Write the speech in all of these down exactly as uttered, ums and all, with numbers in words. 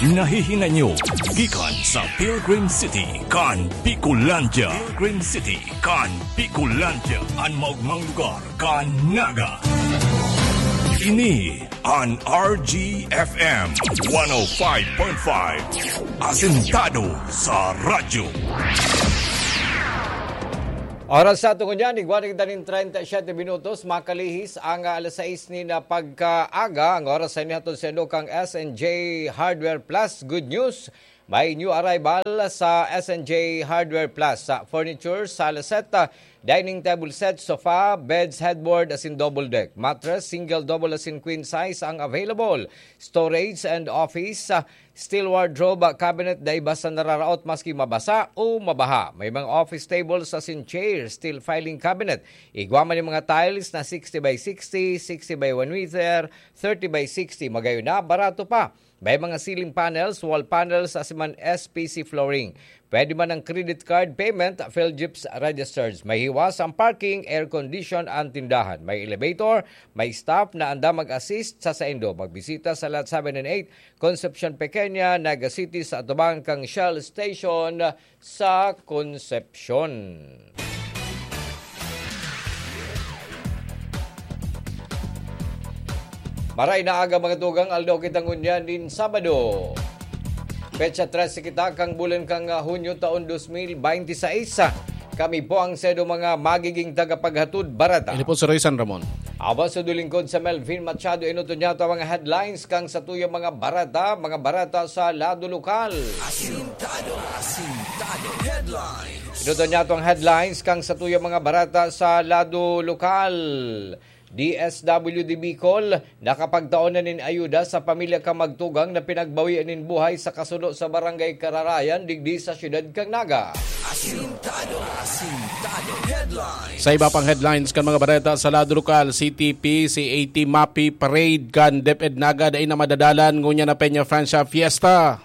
Nahihinay nyo gikan sa Pilgrim City kan Bicolandia. Pilgrim City kan Bicolandia, an maogmang lugar kan Naga. Ini an R G F M one oh five point five, asentado sa radyo. Oras sa aton ngunyan, igwa na kita nin treinta y siete minutos, makalihis ang, ah, alas sais nin, ah, pagkaaga. Ang oras sa inyo hatod sa inyo kang S and J Hardware Plus. Good news, may new arrival sa S and J Hardware Plus. Sa furniture, sala set, ah, dining table set, sofa, beds, headboard, asin double deck. Mattress, single, double, asin queen size ang available. Storage and office, ah, steel wardrobe, ah, cabinet, dai basta nararaot maski mabasa o mabaha. May mga office tables asin chair, steel filing cabinet. Igwa man yung mga tiles na sixty by sixty, sixty by one meter, thirty by sixty. Magayon na, barato pa. May mga ceiling panels, wall panels, asin man S P C flooring. Pwede man ang credit card payment, Philgips registers. May hiwas ang parking, air condition ang tindahan. May elevator, may staff na andam mag-assist sa saindo. Magbisita sa Lot seven and eight, Concepcion Pequeña, Naga City, sa atubang kang Shell Station sa Concepcion. Maray na aga, mga tugang, aldaw kita ngunyan nin Sabado. Petsa trese kita kang bulan kang, ah, Hunyo taon dos mil bente seis. Kami po ang sedo mga magiging tagapaghatod barata. Ini po si Roy San Ramon. Awa sa dulingkod sa Melvin Machado, inuton niya ito ang mga headlines kang sa tuyang mga barata, mga barata sa lado lokal. Asintado, asintado, headlines. Inuton niya ito ang headlines kang sa tuyang mga barata sa lado lokal. D S W D Bicol, nakapagtao na nin ayuda sa pamilya kan magtugang na pinagbawian nin buhay sa kasuno sa Barangay Kararayan, digdi sa siyudad kan Naga. Asintado, asintado, headlines. Sa iba pang headlines kan mga bareta sa lado lokal, C T P, C A T, MAPI, parade kan DepEd Naga dai na madadalan ngunyan na Peña Francia Fiesta.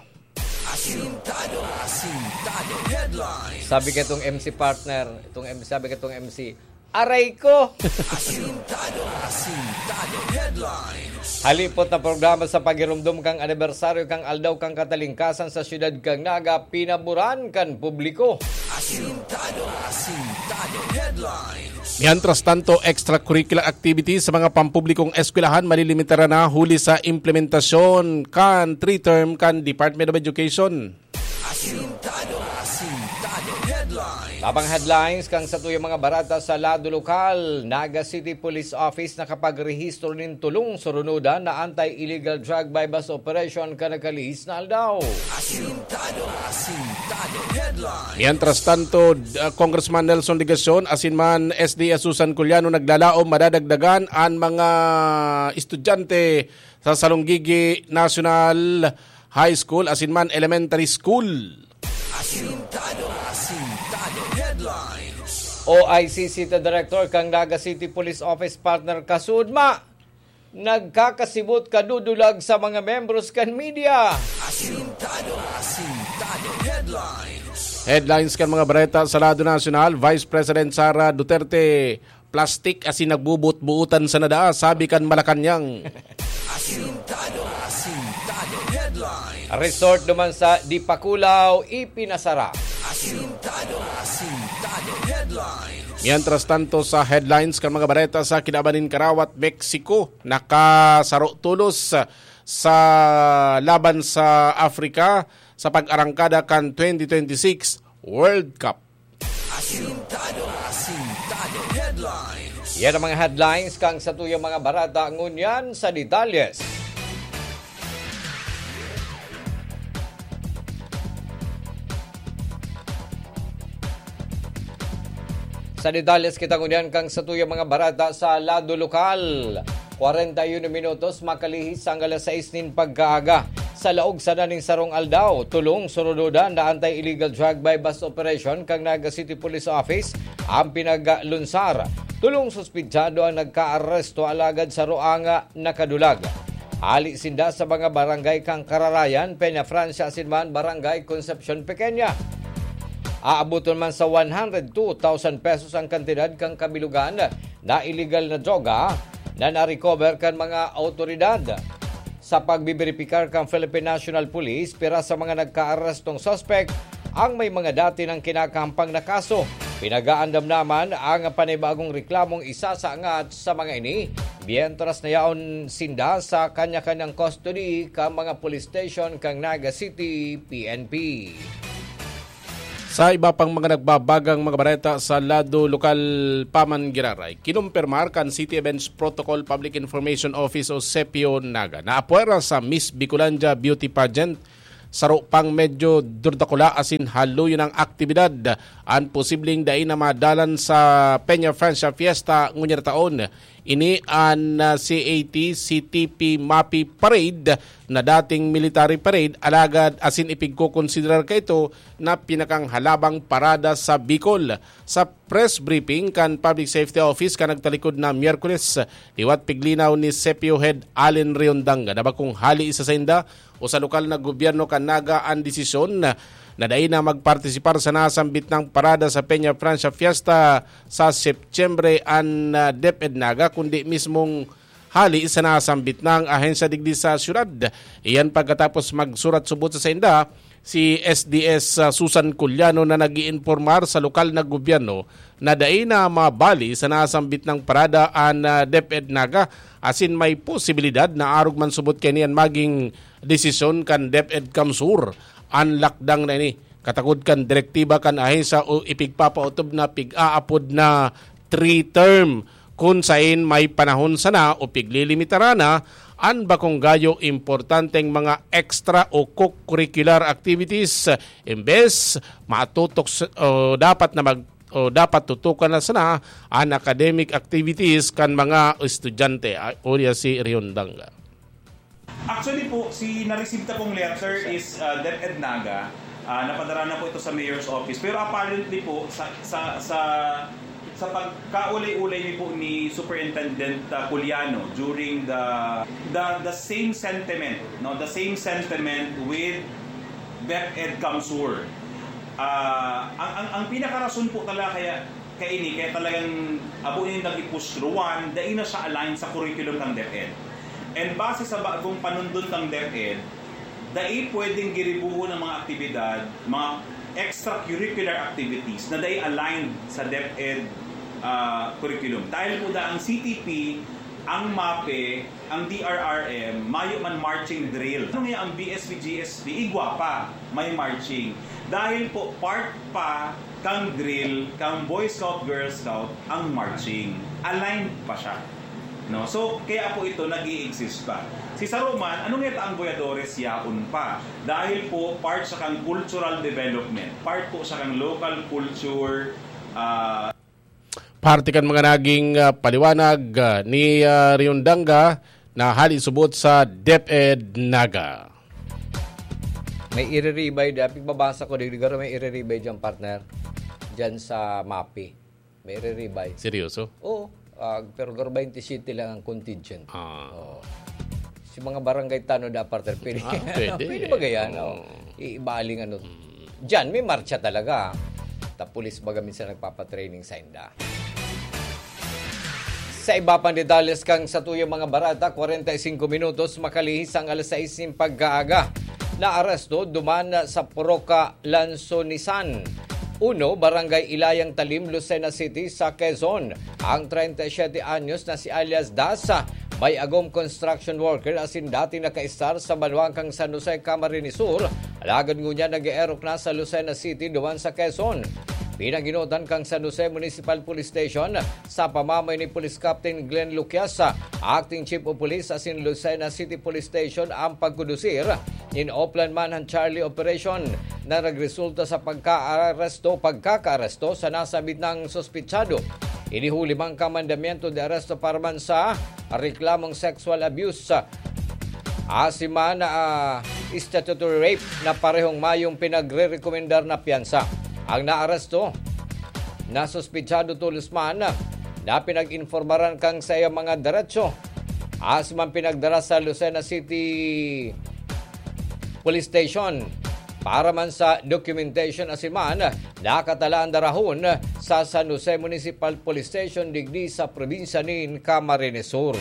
Asintado, asintado, headlines. Sabi ketong M C partner, itong M-, sabi ketong M C, "Aray ko!" Asintado, asintado, headlines. Halipot na programa sa paghiromdom kang anibersaryo kang Aldaw kang Katalingkasan sa siyudad kang Naga, pinaboran kan publiko. Asintado, asintado, headlines. Mientras tanto, extracurricular activities sa mga pampublikong eskwelahan malilimitar na huli sa implementasyon kan three-term kan Department of Education. Asintado, asintado, headlines. Tabang headlines kang sa tuyang mga barata sa lado lokal, Naga City Police Office nakapagrehistro nin tolong surunodan na anti-illegal drug buy-bust operation kan nakalihis na aldaw. Asintado, asintado, headlines. Mientras tanto, d-, ah, Congressman Nelson Legacion asin man S D Susan Culiano naglalaom madadagdagan an mga estudyante sa Salonggigi National High School asin man Elementary School. Asintado, asintado, headlines. O I C City Director kang Naga City Police Office partner Kasudma, nagkakasibot kadudulag sa mga membros kan media. Asintado, asintado, headlines. Headlines kan mga bareta sa lado nasyonal, Vice President Sara Duterte, plastik asin nagbubuot-buotan sa nadaa, sabi kan Malacañang. Asintado, asintado, headlines. Resort duman sa Dipakulaw, ipinasara. Asintado, asintado, headlines. Mientras tanto, sa headlines kan mga bareta sa kinaban nin karawat, Mexico, nakasaro tolos sa laban sa Africa sa pag-arangkada kan twenty twenty-six World Cup. Asintado, asintado, headlines. Yan ang mga headlines kang sa tuyang mga barata. Ngunyan sa detalyes. Sa detalyes kita ngunyan kang sa tuyang mga barata sa lado lokal. Kwarenta y uno minutos makalihis ang alas sais nin pagkaaga. Sa laog sana nin sarong aldaw, tolong surunodan na anti-illegal drug buy-bust operation kang Naga City Police Office ang pinaglunsar. Tolong suspitsado ang nagkaaresto, alagad saro ang nakadulag. Hali sinda sa mga barangay kang Kararayan, Peña Francia asin man Barangay Concepcion Pequeña. Aaboton man sa one hundred two thousand pesos ang kantidad kan kabilugan na iligal na droga na na-recover kan mga awtoridad. Sa pagbiberipikar kan Philippine National Police, pira sa mga nagkaarestong suspek ang may mga dati nang kinakahampang na kaso. Pinag-aandam naman ang panibagong reklamong isasaangat sa mga ini, mientras na yaon sinda sa kanya-kanyang custody kan mga police station kan Naga City P N P. Sa iba pang mga nagbabagang mga bareta sa lado lokal pa man giraray, kinumpirmar kan City Events Protocol Public Information Office o CEPIO Naga na apwera sa Miss Bicolandia Beauty Pageant, saro pang medyo durdakula asin haloy nang aktibidad an posibleng dai na madalan sa Peña Francia Fiesta ngunyan na taon. Ini an, ah, C A T C T P MAPI Parade na dating military parade, alagad asin ipigkokonsiderar kaito na pinakanghalabang parada sa Bicol. Sa press briefing kan Public Safety Office kan nagtalikod na Miyerkules, liwat piglinaw ni CEPIO Head Allen Riondanga na bakong hali sa sainda o sa lokal na gobyerno kan Naga an desisyon na dai na magpartisipar sa nasambit nang parada sa Peña Francia Fiesta sa Setyembre an, ah, DepEd Naga, kundi mismong hali sa nasambit nang ahensya digdi sa syudad. Iyan pagkatapos magsurat subot sa sainda si S D S, ah, Susan Culiano na nag-iinpormar sa lokal na gobyerno na dai na mabali sa nasambit nang parada an, ah, DepEd Naga, asin may posibilidad na arog man subot kaini an maging desisyon kan DepEd CamSur. An lakdang na ini katakod kan direktiba kan ahensya o ipigpapaotob na pig-aapod na three-term, kun sain may panahon sana o piglilimitaran na an bakong gayo importanteng mga extra o co-curricular activities, imbes matutok s-, o dapat na mag-, o dapat tutukan na sana an academic activities kan mga estudyante, a-, uya si Riondanga. Actually po, si na-receive ta pong letter is, uh, DepEd Naga. Ah, napadara na po ito sa mayor's office. Pero apparently po, sa, sa, sa, sa pagkaulay-ulay ni po ni Superintendent, uh, Culiano during the, the, the same sentiment, no? The same sentiment with DepEd CamSur. Ah, ang, ang, ang pinakarason po talaga kaya kaini, kaya talagang abo nin nag-i-push through. One, dai na siya align sa curriculum kan DepEd. And base sa bagong panundon kan DepEd, dai pwedeng giribuhon ang mga aktibidad, mga extracurricular activities na dai aligned sa DepEd, ah, curriculum. Dahil po da ang C T P, ang MAPE, ang D R R M, mayo man marching drill. Ano nga ang B S P G S P? Igwa pa, may marching. Dahil po, part pa kang drill, kang Boy Scout, Girl Scout, ang marching. Aligned pa siya. No? So, kaya po ito nag-i-exist pa. Si Saruman, ano nga ang Voyadores yaon pa? Dahil po, part siya kang cultural development. Part po siya kang local culture, ah, Parte kan mga naging, ah, paliwanag, ah, ni, ah, Riondanga na hali subot sa DepEd Naga. May iriribay, dapit babasa ko, digdi garo may iriribay dyan, partner. Dyan sa MAPE. May iriribay. Seryoso? Oo. Ah, pero garo twenty-seven lang ang contingent. Ah. Oo. Si mga barangay tanod, ah, partner, pwede. Ah, pwede. Pwede ba ganyan? Oo. Oo. Ibaling ano. Mm. Diyan, may marcha talaga. Ta pulis baga minsan nagpapatraining sa inda. Sa iba pang detalles kan satuyang mga bareta, kwarenta y singko minutos makalihis ang alas sais nin pagkaaga. Naaresto duman sa Purok Lansonisan uno, Barangay Ilayang Talim, Lucena City, sa Quezon, ang treinta y siete anyos na si alias Das, may agom construction worker asin dating nakaistar sa banwang kan San Jose, Camarines Sur, alagad ngunyan nag-eerok na sa Lucena City, duman sa Quezon. Pinaginotan kan San Jose Municipal Police Station sa pamamay ni Police Captain Glenn Luquias, Acting Chief of Police asin Lucena City Police Station, ang pagkondusir nin Oplan Manhunt Charlie Operation na nagresulta sa pagkaaresto, pagkakaaresto sa nasabit nang suspitsado. Inihuli man kan mandamiento de aresto para man sa reklamong sexual abuse asin man, ah, statutory rape na parehong mayong pinagrerekomendar na piyansa. Ang naaresto na suspitsado tolos man na pinag-informaran kan saiyang mga derecho asin man pinagdara sa Lucena City Police Station para man sa documentation asin man nakatala an darahon sa San Jose Municipal Police Station digdi sa probinsya nin Camarines Sur.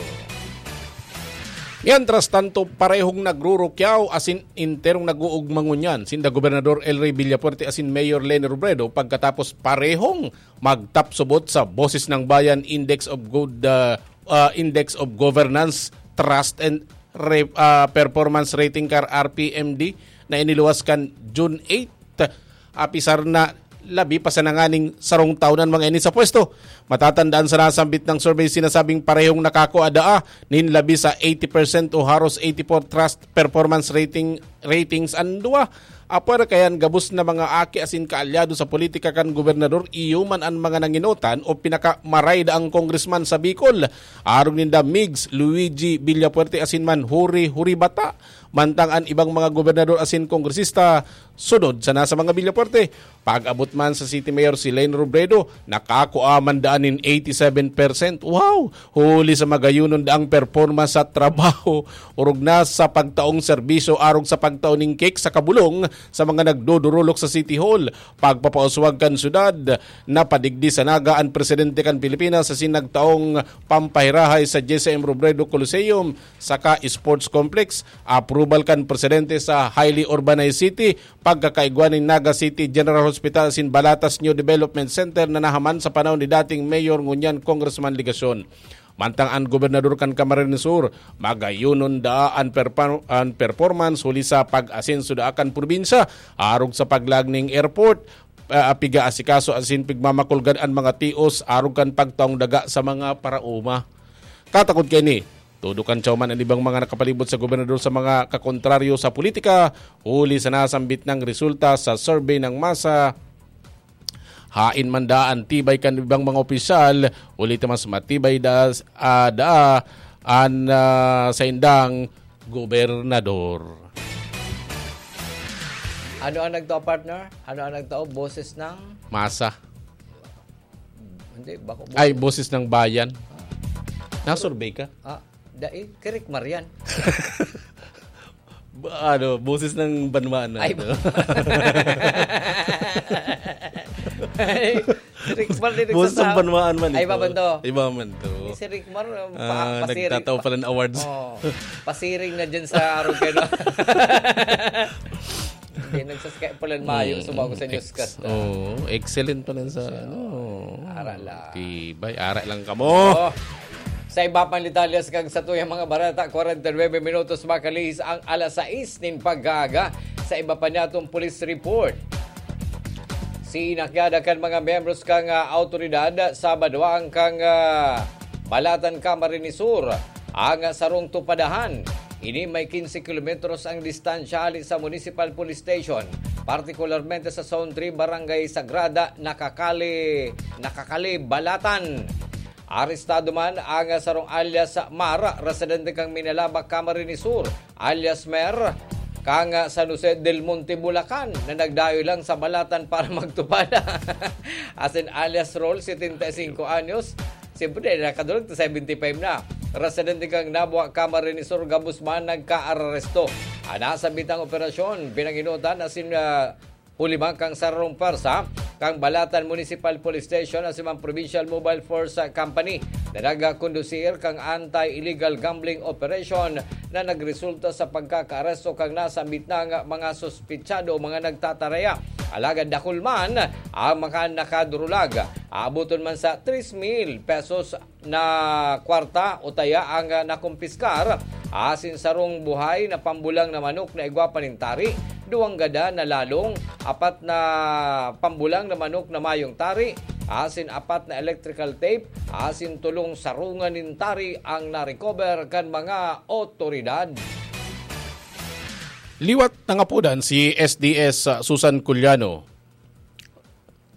Mientras tanto, parehong nagrurukyaw asin enterong nag-uugma ngunyan sinda Gobernador El Rey Villafuerte asin Mayor Leni Robredo pagkatapos parehong magtapsubot sa Boses ng Bayan Index of Good, ah, ah, Index of Governance, Trust and Re- ah, Performance Rating kar R P M D na iniluwas kan June eight. Apisar na labi pa sa nanganing sarong taon an mga ini sa pwesto. Matatandaan sa nasambit ng survey, sinasabing parehong nakakua daa nin labi sa eighty percent o haros eighty-four trust performance rating ratings an duwa. Apwera kayan gabos na mga aki asin kaalyado sa politika kan gobernador, iyo man an mga nanginotan o pinakamaray daang kongresman sa Bicol. Arog ninda, Migs Luigi Villafuerte asin man Huri Huri Bata. Mantang an ibang mga gobernador asin kongresista sunod sana sa mga Villafuerte. Pag-abot man sa City Mayor si Leni Robredo, nakakua man daan nin eighty-seven percent. Wow! Huli sa magayonon daang performance sa trabaho, orog na sa pagtaong serbisyo arog sa pagtao nin cake sa kabolong sa mga nagdodorolok sa City Hall. Pagpapauswag kan syudad, napadigdi sa Naga an presidente kan Pilipinas asin nagtaong pampahirahay sa J C M Robredo Coliseum saka Sports Complex, approval kan presidente sa highly urbanized city, pagkakaigwa nin Naga City General Hospital asin Balatas New Development Center na nahaman sa panahon ni dating Mayor ngunyan Congressman Legacion. Mantang an gobernador kan Camarines Sur, magayonon daa an, perpa- an performance huli sa pag-asenso daa kan probinsya, arog sa paglaag ning airport, ah, piga-asikaso asin pigmamakulgan an mga tios arog kan pagtaong daga sa mga paraoma. Katakod kaini, todo kan tyaw man an ibang mga nakapalibot sa gobernador sa mga kakontraryo sa politika, huli sa nasambit nang resulta sa survey ng masa. Hain man daa an tibay kan ibang mga opisyal, huli ta mas matibay da, ah, daa an, ah, saindang gobernador. Ano ang nagtao, partner? Ano ang nagtao? Boses ng... Masa. Hindi, bako... Ay, boses ng bayan. Nasurvey ka? Ah, dai, kirik Marian. Ba- ano, boses ng banwaan na. Ay, ano? Ay, si Rick Mar, di Boses ng nagsasabi. banwaan man Ay, ito. iba man to. Iba man to. Si Rick Mar, pa, Ah, pasiri- nagtatao pala ng awards. Oh, pasiring na dyan sa Arugeno. Hindi, nagsaskay pala mayo Mm, sa bago sa ex- newscast. Oo, excellent pala sa ano. Ara lang. Tibay, ara lang kamo. Oh. Sa iba pang detalye sa kag sa tuyang mga bareta, forty-nine minutos makalihis ang alas sais nin pag-aaga. Sa iba pa niatong police report, sinakyada kan mga miyembros kan, ah, awtoridad sa Badoang kan, ah, Balatan, Camarines Sur ang sarong tupadahan. Ini may quince kilometros ang distansya hali sa Municipal Police Station, partikularmente sa Zone three, Barangay Sagrada, Nakakali, Nakakali, Balatan. Arestado man ang sarong alias Mar, residente kang Minalaba, Camarines Sur, alias Mer, kang San Jose del Monte, Bulacan, na nagdayo lang sa Balatan para magtupad. Asin alias Rol, setenta y cinco anyos, siyempre, nakadurog ta seventy-five na. Residente kang Nabua, Camarines Sur, gabos man nagkaaresto. Ang nasambitang operasyon, pinanginutan asin, ah, huli man kang sarong pwersa kang Balatan Municipal Police Station asin man Provincial Mobile Force Company na nagkondusir kang anti-illegal gambling operation na nagresulta sa pagkakaaresto kang nasambit na nga mga suspitsado o mga nagtataraya. Alagad dakul man ang mga nakadurulag. Aaboton man sa tres mil pesos na kwarta o taya ang, ah, nakumpiskar, asin sarong buhay na pambulang na manok na igwa pa nin tari, duwang gada na lalong, apat na pambulang na manok na mayong tari, asin apat na electrical tape, asin tolong sarungan nin tari ang na-recover kan mga otoridad. Liwat nangapodan si S D S Susan Culiano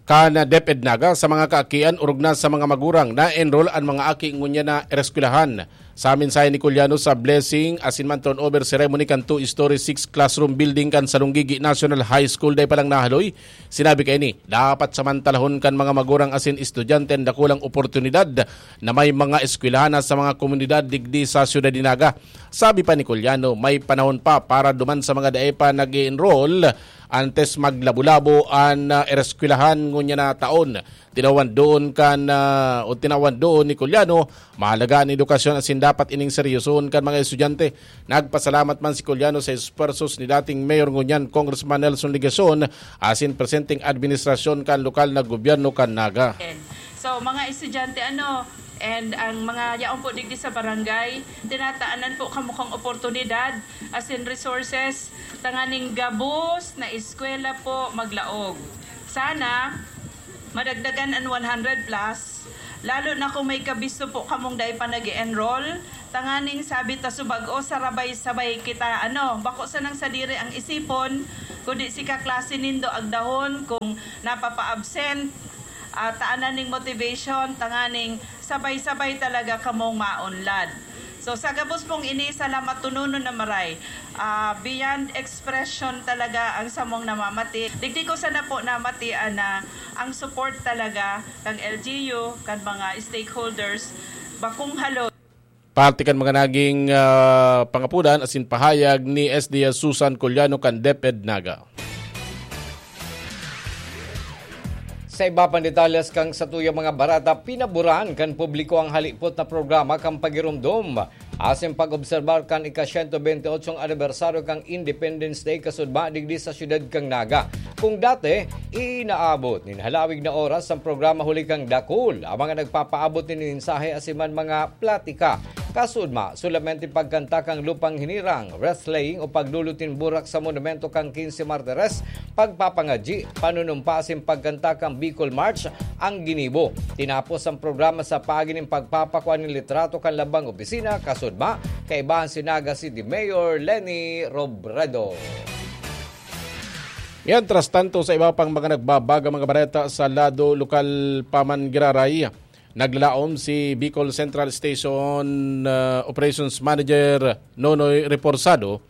kan DepEd Naga sa mga kaakian orog na sa mga magurang na enroll an mga aki ngunyan na ereskwelahan. Sa mensahe ni Culiano sa blessing asin man turnover ceremony kan two-story, six-classroom building kan Salonggigi National High School, dai pa lang nahaloy, sinabi kaini, dapat samantalahon kan mga magurang asin estudyante an dakulang oportunidad na may mga eskwelahan na sa mga komunidad digdi sa siyudad ni Naga. Sabi pa ni Culiano, may panahon pa para duman sa mga dai pa nag-enroll antes maglabo-labo an, ah, ereskwelahan ngunyan na taon. Tinawan doon kan, ah, o tinawan doon ni Culiano, mahalaga an edukasyon asin dapat ining seryosohon kan mga estudyante. Nagpasalamat man si Culiano sa esfuerzos ni dating Mayor ngunyan Congressman Nelson Legacion asin presenteng administrasyon kan lokal na gobyerno kan Naga. So, mga estudyante, ano, and ang mga yaon po digdi sa barangay, tinataanan po kamo kang oportunidad, asin resources, tanganing gabos na eskwela po maglaog. Sana, madagdagan an one hundred plus, lalo na kung may kabisto po kamong dai pa nag-enroll, tanganing sabi ta subag-o, sarabay-sabay kita, ano, bako sanang sadiri ang isipon, kundi si kaklase nindo agdahon kung napapa-absent, ah, taanan ning motivation, tanganing sabay-sabay talaga kamong maunlad. So, sa gabos pong ini, salamat tunonon na maray. Ah, beyond expression talaga ang samong namamati. Digdi ko sana po namatian na ang support talaga kan L G U, kan mga stakeholders, bakong halo. Parte kan mga naging, ah, pangapudan asin pahayag ni S D S Susan Culiano kan DepEd Naga. Sa iba pang detalles kan satuyang mga bareta, pinaboran kan publiko ang halipot na programa kan pagiromdom asin pag-obserbar kan ika-siyento bente otsong anibersaryo kan Independence Day kasudma digdi sa siyudad kan Naga. Kung dati, inaabot nin halawig na oras ang programa huli kan dakul ang mga nagpapaabot nin mensahe asin man mga platika. Kasudma, solamente pagkanta kan Lupang Hinirang, wreath-laying o pagdulot nin burak sa monumento kan Quince Martires, pagpapangadyi, panunumpa asin pagkanta kan Bicol March ang ginibo. Tinapos ang programa sa paagi nin pagpapakua nin litrato kan lambang opisina, kasudma, kaibahan si Naga City Mayor Leni Robredo. Mientras tanto, sa iba pang mga nagbabagang mga bareta sa lado lokal pa man giraray, naglalaom si Bicol Central Station, ah, Operations Manager Nonoy Reforzado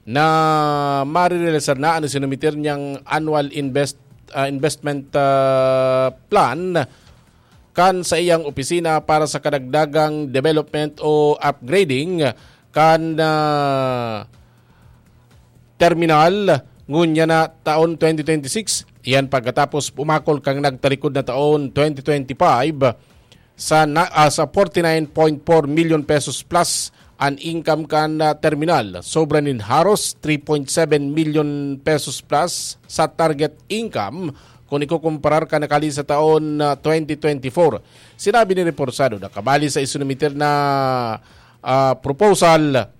na marirealisar na an isinumitir niyang annual invest-, ah, investment, ah, plan kan saiyang opisina para sa kadagdagang development o upgrading kan, ah, terminal ngunyan na taon twenty twenty-six. Iyan pagkatapos pumakol kan nagtalikod na taon twenty twenty-five sa na, ah, sa forty-nine point four million pesos plus an income kan, ah, terminal. Sobra nin haros three point seven million pesos plus sa target income kun ikukumparar kan nakali sa taon, ah, twenty twenty-four. Sinabi ni Reforzado na kabali sa isinumiter na, ah, proposal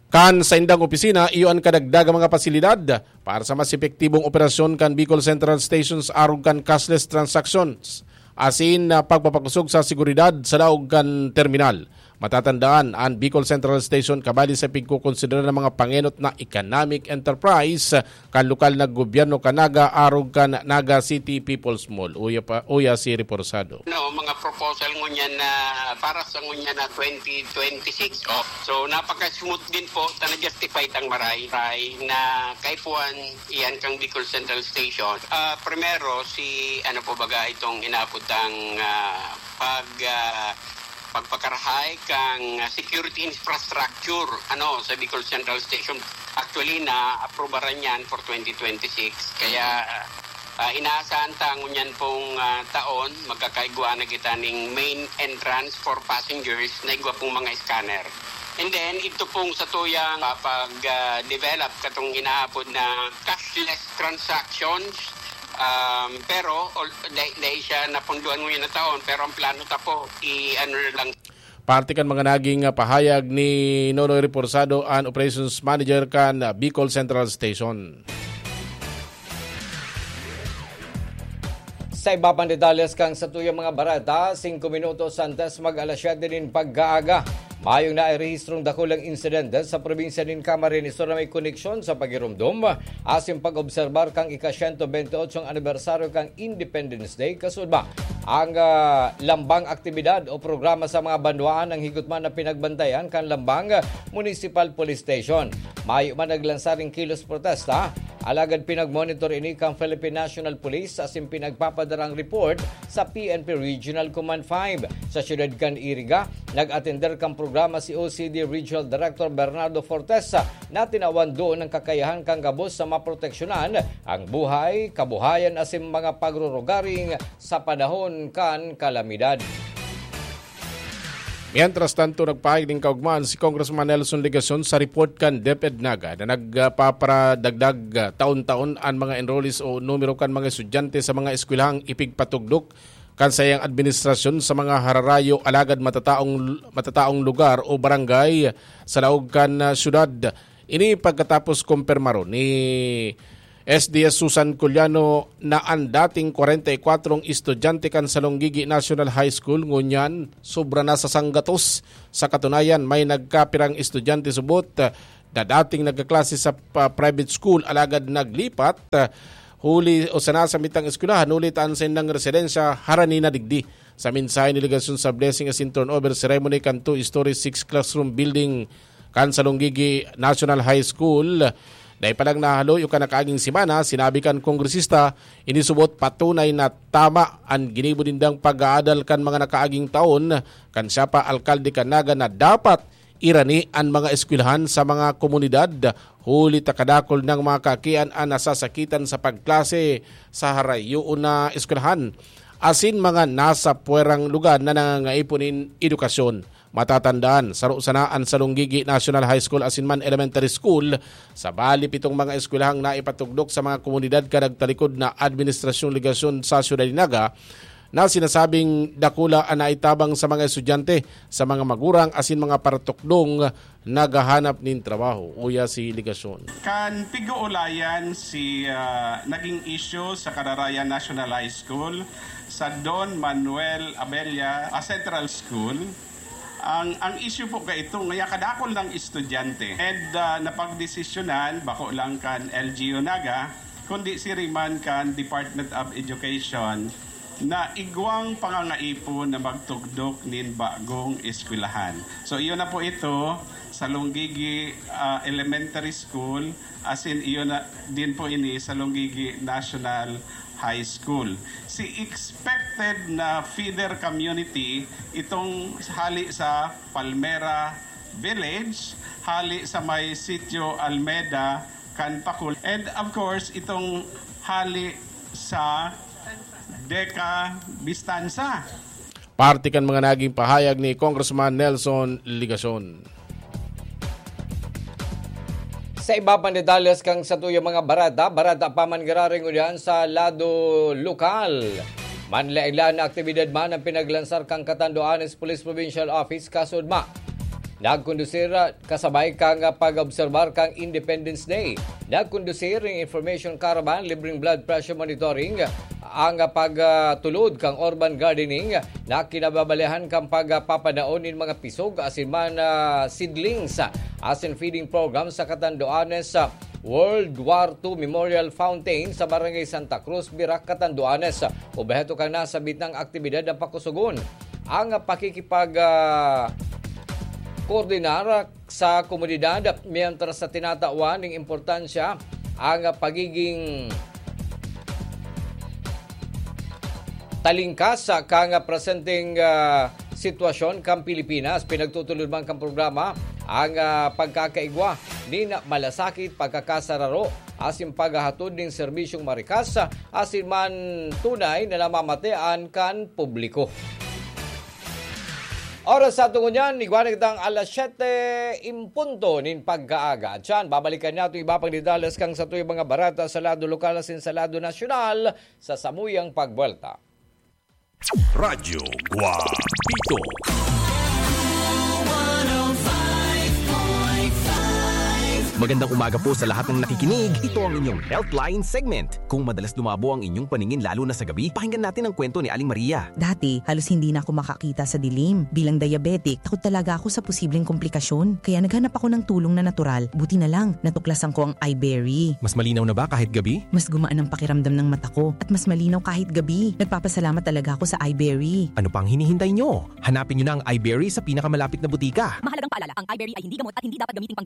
kan saindang opisina, iyo an kadagdagang mga pasilidad para sa mas epektibong operasyon kan Bicol Central Stations arog kan cashless transactions, asin, ah, pagpapakosog sa seguridad sa laog kan terminal. Matatandaan, an Bicol Central Station kabali sa pigkokonsidera na mga pangenot na economic enterprise kan lokal na gobyerno kan Naga arog kan Naga City People's Mall. Uya pa, uya si Reforzado. No, mga proposal ngunyan na para sa ngunyan na twenty twenty-six. Oh. So, napaka-smooth din po, ta na-justify tang maray, maray na kaipuhan iyan kang Bicol Central Station. Ah, primero, si, ano po baga itong inaapod tang, ah, pag, ah, pagpakarahay kang, ah, security infrastructure, ano, sa Bicol Central Station. Actually, na-aprobaran yan for twenty twenty-six. Kaya, ah, inaasahan ta ngunyan pong, ah, taon, magkakaigwa na kita ning main entrance for passengers na igwa pong mga scanner. And then, ito pong satuyang, ah, pag, ah, develop katong inaapod na cashless transactions. Um, pero, ol-, dai, dai siya napunduan ngunyan na taon, pero ang plano ta po, i-ano na lang. Parte kan mga naging, ah, pahayag ni Nonoy Reforzado, an operations manager kan, ah, Bicol Central Station. Sa iba pang detalles kan satuyang mga bareta, singko minutos antes mag alas siyete nin pagkaaga, mayong nairehistrong dakulang insidente sa probinsya nin Camarines Sur na may koneksyon sa pagiromdom asin pag-obserbar kan ika-siyento bente otsong anibersaryo kan Independence Day, kasudma ang, ah, lambang aktibidad o programa sa mga banwaan nang higotman na pinagbantayan kan lambang Municipal Police Station. Mayo man naglansar nin kilos protesta Alagad pinagmonitor ini kan Philippine National Police asin pinagpapadara ang report sa P N P Regional Command five. Sa siyudad kan Iriga, nag-atender kan programa si O C D Regional Director Bernardo Fortes na tinawan doon ang kakayahan kan gabos sa maproteksyonan ang buhay, kabuhayan asin mga pagrurugaring sa panahon kan kalamidad. Mientras tanto, nagpahayag nin kaugmaan si Congressman Nelson Legacion sa report kan DepEd Naga na nagpaparadagdag, ah, taon-taon an mga enrollees o numero kan mga estudyante sa mga eskwelahang ipigpatugdok kan saiyang administrasyon sa mga hararayo alagad matataong, matataong lugar o barangay sa laog kan, ah, syudad. Ini pagkatapos kumpirmaron ni S D S Susan Culiano na an dating kwarenta y kwatrong estudyante kan Salonggigi National High School ngunyan sobra na sa sanggatos. Sa katunayan, may nagkapirang estudyante subot na dating nagkaklase sa pa-, private school alagad naglipat, ah, huli o sa nasa mitang eskwelahan huli ta an saindang residensya harani na digdi. Sa mensahe ni Legacion sa blessing asin turnover ceremony kan two-story, six-classroom building kan Salonggigi National High School, dai pa lang nahaloy o kan nakaaging semana, sinabi kan kongresista, ini subot patunay na tama an ginibo nindang pag-aadal kan mga nakaaging taon, kan siya pa alkalde kan Naga, na dapat irani an mga eskwelahan sa mga komunidad, huli ta kadakul nang mga kaakian an nasasakitan sa pagklase sa harayoon na eskwelahan, asin mga nasa puwerang lugar na nangangaipo nin edukasyon. Matatandaan, saro sana an Salonggigi National High School asin man Elementary School, sa bali pitong mga eskwelahang naipatugdok sa mga komunidad kan nagtalikod na administrasyong Legacion sa Syudad nin Naga, na sinasabing dakula an naitabang sa mga estudyante, sa mga magurang asin mga paratukdong naghahanap nin trabaho. Uya si Legacion. Kan pig-uulayan si, ah, naging issue sa Cararayan National High School, sa Don Manuel Abella, ah, Central School. Ang, ang issue po kaito, ngaya kadakol ng estudyante. And, ah, napagdesisyonan, bako lang kan L G U Naga, kundi siring man kan Department of Education, na igwang pangangaipo na magtugdok nin bagong eskwelahan. So, iyon na po ito sa Lunggigi, ah, Elementary School, asin iyon na din po ini sa Lunggigi National High School. Si expected na feeder community, itong hali sa Palmera Village, hali sa may Sitio Almeda, Kanpakul. And of course, itong hali sa Deca Bistanza. Parte kan mga naging pahayag ni Congressman Nelson Legacion. Sa iba pang detalles kan satuyang mga bareta, bareta pa man giraray ngunyan sa lado lokal. Manlaen-laen na aktibidad man ang pinaglansar kan Catanduanes Police Provincial Office kasudma. Nagkondusir, ah, kasabay kan pag-obserbar kan Independence Day. Nagkondusir ning information caravan, libreng blood pressure monitoring, ang pagtulod kan urban gardening na kinababalihan kan pagpapadaon nin mga pisog asin man, ah, seedlings, asin feeding program sa Catanduanes, ah, World War Two Memorial Fountain sa Barangay Santa Cruz, Virac, Catanduanes. Obheto kan nasabit na aktibidad na pakusugon ang pakikipag, ah, koordinar sa komunidad, mientras sa tinatawan ning importansya ang pagiging talingkas kan presenteng, ah, sitwasyon kan Pilipinas. Pinagtutulod man kan programa ang, ah, pagkakaigwa nin malasakit, pagkakasararo, asin paghahatod nin serbisyong marikas, asin man tunay na namamatean kan publiko. Oras sa aton ngunyan, igwa na kitang alas siyete en punto nin pagkaaga. At siyan, babalikan natin iba pang detalles kan satuyang mga bareta sa lado lokal asin sa lado nasyonal sa samuyang pagbuwelta. Radyo Guapito. Magandang umaga po sa lahat ng nakikinig. Ito ang inyong Healthline segment. Kung madalas lumabo ang inyong paningin lalo na sa gabi, pakinggan natin ang kwento ni Aling Maria. Dati, halos hindi na ako makakita sa dilim. Bilang diabetic, takot talaga ako sa posibleng komplikasyon. Kaya naghanap ako ng tulong na natural. Buti na lang, natuklasan ko ang Iberry. Mas malinaw na ba kahit gabi? Mas gumaan ang pakiramdam ng mata ko at mas malinaw kahit gabi. Nagpapasalamat talaga ako sa Iberry. Ano pang hinihintay nyo? Hanapin nyo na ang Iberry sa pinakamalapit na butika. Mahalagang paalala, ang Iberry ay hindi gamot at hindi dapat gamiting panggamot.